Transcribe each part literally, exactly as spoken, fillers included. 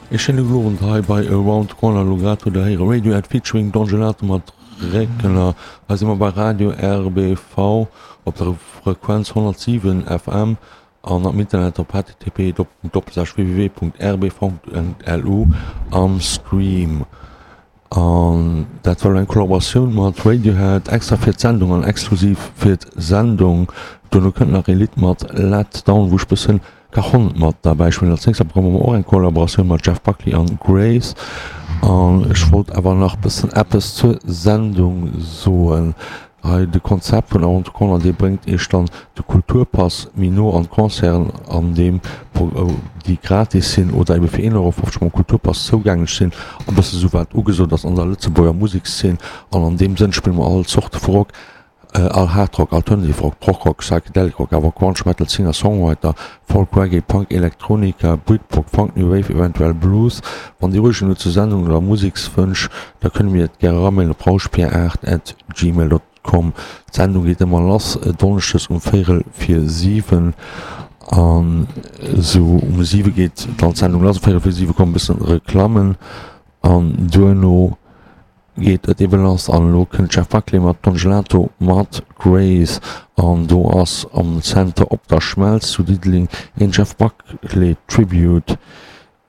Ee schéine gudden Owend hei bei Around the Corner. Elo grad hutt der héiere Radiohead featuring Don Gelato mat Réckler. Hei si mer bei Radio RBV op der Frequenz honnertsiwen F M an am Internet op H T T P doppelpunkt doppelslash W W W Punkt R B V Punkt L U am Stream. An dat war elo eng Kollaboratioun mat Radiohead extra fir d'Sendung an exklusiv fir d'Sendung. Duerno kënnt nach ee Lidd mat Let Down, wou ech bëssen Cajon mat derbäi spillen. Als nächst bekomme mer och eng Kollaboratioun mat Jeff Buckley an Grace. An ech wollt awer nach bëssen eppes zur Sendung soen. Hei de Konzept vun Around the Corner, dee bréngt iech dann de Kulturpass méi no an d'Concerten, an deem déi gratis sinn oder ebe fir een Euro fofzeg mam Kulturpass zougänglech sinn, a bësse sou wat ugesot ass an der Lëtzebuerger Musekszeen. An an deem Sënn spille mer all Zorte vu Rock, all Hard Rock, Alternative Rock, Prog Rock, Psychedelic Rock, awer Grunge, Metal, Singer Songwriter, Folk, Reggae, Punk, Elektronika, Britpop, Funk, New Wave, eventuell Blues. Wann Dir Ureegungen hutt zur Sendung oder Musekswënsch, da kënne mir et gär eramailen op rauschpier aacht at gmail dot com. D'Sendung geet ëmmer lass donneschdes um véierel vir siwen an esou um siwe geet dann d'Sendung lass. Um véierel vir siwe kommen e bëssen Reklammen an duerno geet et ebe lass. An elo kënnt Jeff Buckley mat Don Gelato mat Grace an do ass am Center Op der Schmelz zu Diddeleng een Jeff Buckley Tribute,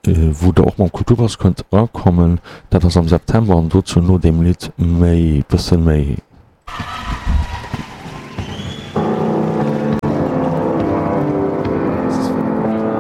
wou der och mam Kulturpass kënnt erakommen. Dat ass am September an dozou no deem Lidd méi, bësse méi.